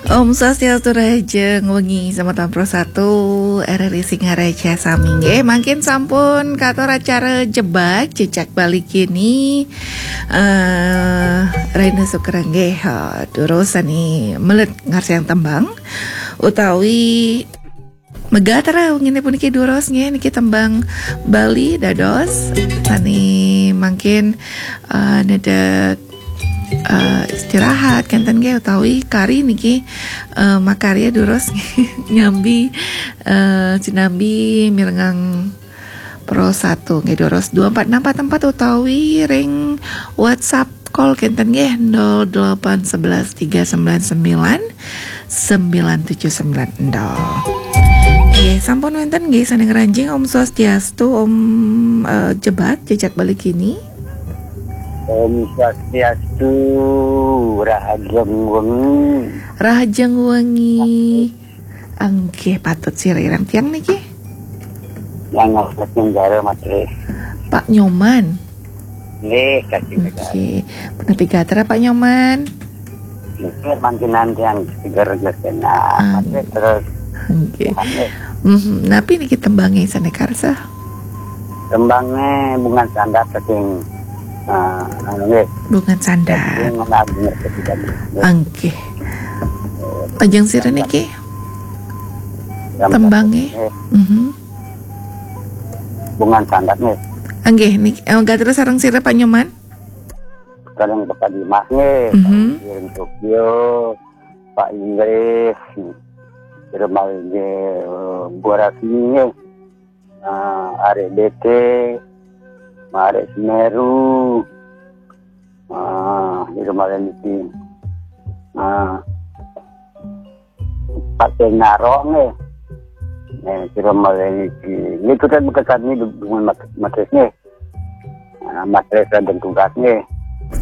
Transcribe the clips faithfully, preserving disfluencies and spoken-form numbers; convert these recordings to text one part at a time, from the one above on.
Om Swastiastu, rahajeng wengi semeton Pro satu R R I Singaraja sami nggih. Mangkin sampun katur acara Jebak Jejak Bali kini. Eh, Raina Sukra nggih, eh, durus sani melet ngarsayang tembang utawi megatra wengine puniki durus nggih, niki tembang Bali dados sani mangkin, eh, nedek, eh, istirahat kenten nggih, utawi kari niki, eh, makarya durus nyambi, eh, sinambi mirengang Pro satu nggih, durus dua empat enam empat empat utawi ring WhatsApp call kenten nggih, nol delapan sebelas tiga sembilan sembilan sembilan tujuh sembilan nol. Nggih, sampun wenten nggih sane ngranjing. Om Swastiastu, Om, eh, Jebak Jejak Bali kini. Om Swastiastu, rahajeng wengi. Rahajeng wengi. Nggih, patut sirirang tiang niki. Yang ngawas negara, Mas Tri. Pak Nyoman. Nggih, kasih negara. Nggih. Punapi gatra, Pak Nyoman? Nggih, mangkin nanti yang seger nggih, kena. Ah, Mas Tri, terus. Nggih. Nggih. Mhm, napi niki tembange sane karsa? Tembange Bungan Sandat saking, eh, anu nggih. Bungan Sandat. Saking Agung Resik Sidabu. Nggih. Nggih. Lajeng sira niki? Tembange? Nggih. Mhm. Bungan Sandat nggih. Nggih, niki, eh, gatra sareng sira Pak Nyoman? Sareng Bapak Dimas nggih. Mhm. Pak Tokyo, Pak Inggris, terus malih nggih, eh, Bu Rasmi nggih. Eh, arek B T, arek Semeru. Eh, terus malih niki. Eh, Pak Tenaro nggih. Eh, kira malih niki. Niku kan bekas kami dengan Mat-, Matris nggih. Nah, Matris dan tugas nggih.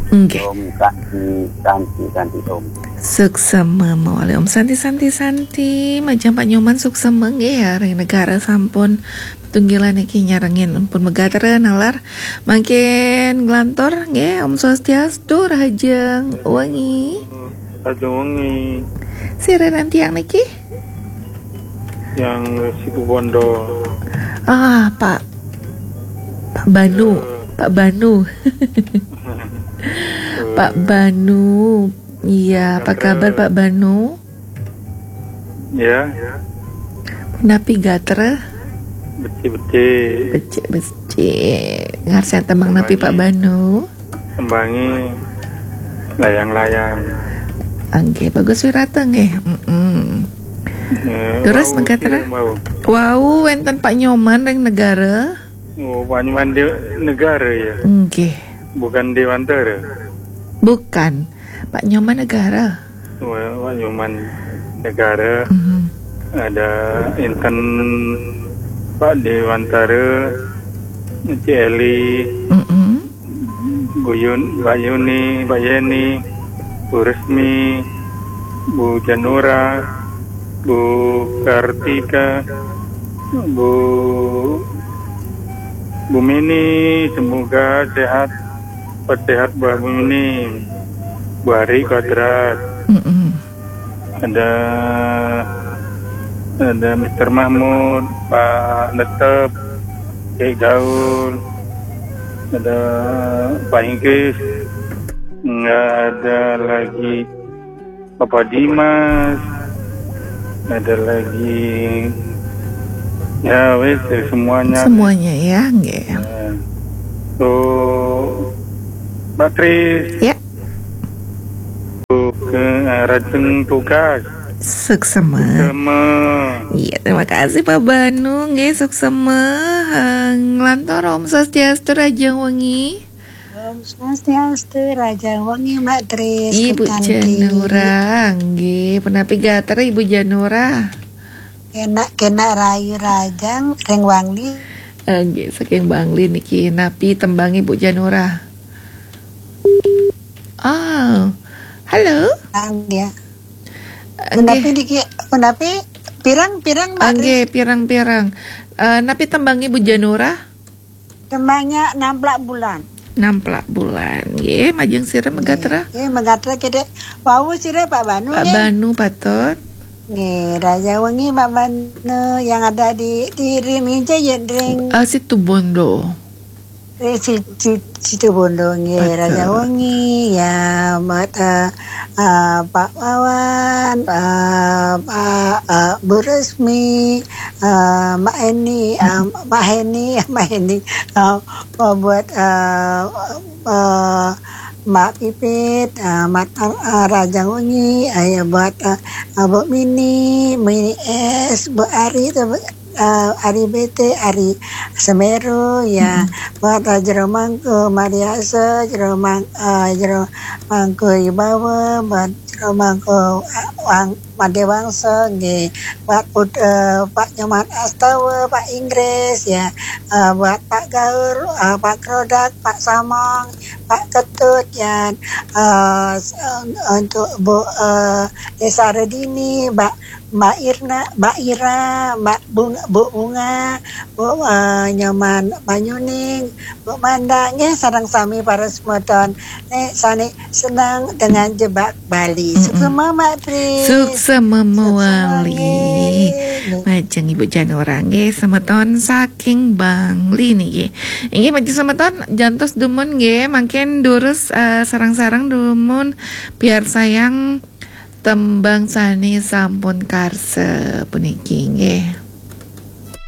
Nggih. Om Santi, Santi, Santi Om. Suksema mawali Om Santi, Santi, Santi. Majeng Pak Nyoman suksema nggih ya, ring negara sampun tunggilan niki nyarengin pun megatra nalar. Mangkin nglantur nggih, Om Swastiastu, rahajeng wengi. Rahajeng wengi. Sira ring tiang niki? Yang Situbondo. Ah, Pak, Pak Banu, eh. Pak Banu. Pak Banu. Iya, apa kabar Pak Banu? Ya. Napi gatra? Becik-becik. Becik-becik. Ngarsayang tembang napi Pak Banu? Tembange layang-layang. Nggih, bagus wirata nggih. Mm-mm. Eh, terus wau, megatra? Wau, wenten Pak Nyoman ring negara. Oh, Pak Nyoman di negara ya? Nggih. Bukan Dewantara? Bukan. Pak Nyoman negara. Wah, Pak Nyoman negara. Mhm. Ada inten Pak Dewantara, Cik Eli, mm-mm. Bu Yun-, Pak Yuni, Pak Yeni, Bu Resmi, Bu Janura, Bu Kartika, Bu, Bu Mini, semoga sehat, sehat Mbak Mini, Bu Ari Kodrat. Mm-mm. Ada, ada Mister Mahmud, Pak Netep, Cik Gaul, ada Pak Inggris, nggak ada lagi Bapak Dimas, ada lagi, ya wis, ya, semuanya. Semuanya ya, nggih. Ya. So, Mbak Tris. Ya. Ke, eh, rajeng tugas. Suksema. Suksema. Iya, terima kasih Pak Banu, nggih, suksema. Eh, nglantur Om Swastiastu, rahajeng wengi. Om Swastiastu, rahajeng wengi, Mbak Tris, Ibu Janura, nggih, punapi gatra Ibu Janura? Kenak-kenak rahayu rahajeng ring Bangli. Eh, nggih, saking Bangli niki, napi tembang Ibu Janura? Oh, halo? Nggih. Punapi niki, punapi pirang-pirang, Mbak Tris? Nggih, pirang-pirang. Eh, napi tembang Ibu Janura? Tembange Namplak Bulan. Namplak bulan. Nggih, majeng sira megatra. Nggih, megatra kedek. Wau sira Pak Banu Pak nggih. Banu patut. Nggih, Raja Wengi Pak Banu yang ada di di Rim Inca ya ring Ah, Situbondo. ring si, si, Situbondo nggih, Patut. Raja Wengi ya, mat eh, eh, Pak Wawan, eh, Pak eh, Bu Resmi, eh, Mak Eni, eh, Mak Heni, Mak Heni, eh, buat eh, eh, Mak Pipit, eh, Mat eh, Raja Wengi, eh, ya buat eh, eh, Bu Mini, Mini S, Bu Ari, tu, eh, Ari B T, Ari Semeru, ya, buat eh, Jero Mangku, Mariasa, Jero Mang, eh, Jero Mangku Ibawa, buat Jero Mangku eh, Wang Made Wangsa, nggih, buat Put, eh, Pak Nyoman Astawa, Pak Inggris, ya, eh, buat Pak Gaur, eh, Pak Krodak, Pak Samong, Pak Ketut, ya, eh, s- eh, untuk Bu eh, Desa Redini, Mbak Mbak Irna, Mbak Ira, Mbak Bunga, Bu Bunga, Bu eh, Nyoman Banyuning, Bu Manda, nggih sareng sami para semeton. Nek sane senang dengan jebak Bali. Suksema Mak Tri. Suksema Suksema mawali. nggih. Majeng Ibu Janura nggih, semeton saking Bangli niki. Inggih majeng semeton jantos dumun nggih, mangkin durus eh, sareng-sareng dumun piarsayang tembang sane sampun karsa puniki nggih.